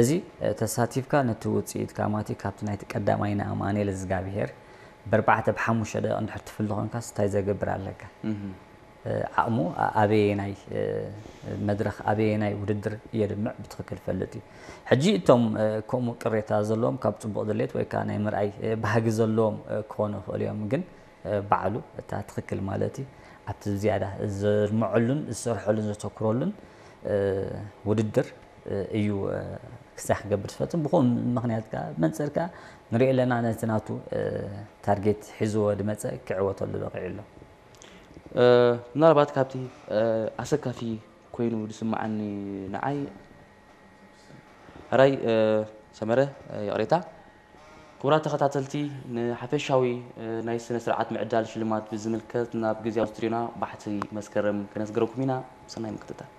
እዚ ተሳቲፍካ ነቲ ውፅኢት ካማቲ ካብቲ ናይቲ ቀዳማይ ንኣማኑኤል እግዚኣብሄር ብኣርባዕተ ብሓሙሽተ ደቂቕ እንድሕር ትፍሊ ኮንካስ እንታይ ዘገብር ኣለካ? ዓቕሙ ኣበየናይ መድረኽ ኣበየናይ ውድድር የድምዕ ብትኽክል ፈልጥ እዩ። ሕጂ እቶም ከምኡ ቅሬታ ዘለዎም ካብ ፅቡቕ ድሌት ወይ ከዓ ናይ ምርኣይ ባህጊ ዘለዎም ክኾኑ ይኽእሉ እዮም፣ ግን ባዕሉ እታ ትኽክል ማለት እዩ ኣብቲ ዝያዳ ዘድምዐሉን ዝሰርሐሉን ዘተኩረሉን ውድድር እዩ ክሳዕ ክገብር ዝፈትን። ብኹም ምኽንያት ከዓ መንፅር ከዓ ንሪኦ ኣለና ነቲ ናቱ ታርጌት ሒዝዎ ድመፀ ክዕወተሉ በቂዑ ኣሎ። ምናልባት ካብቲ ኣሰካፊ ኮይኑ ዝስምዓኒ ንዓይ ሕራይ ሰመረ ይቕሬታ ክቡራት ተኸታተልቲ ንሓፈሻዊ ናይ ስነ ስርዓት ምዕዳል ሽልማት ብዝምልከት ናብ ግዜያዊ ስቱዲዮና ባሕቲ መስከረም ከነስገረኩም ኢና። ሰናይ ምክትታል።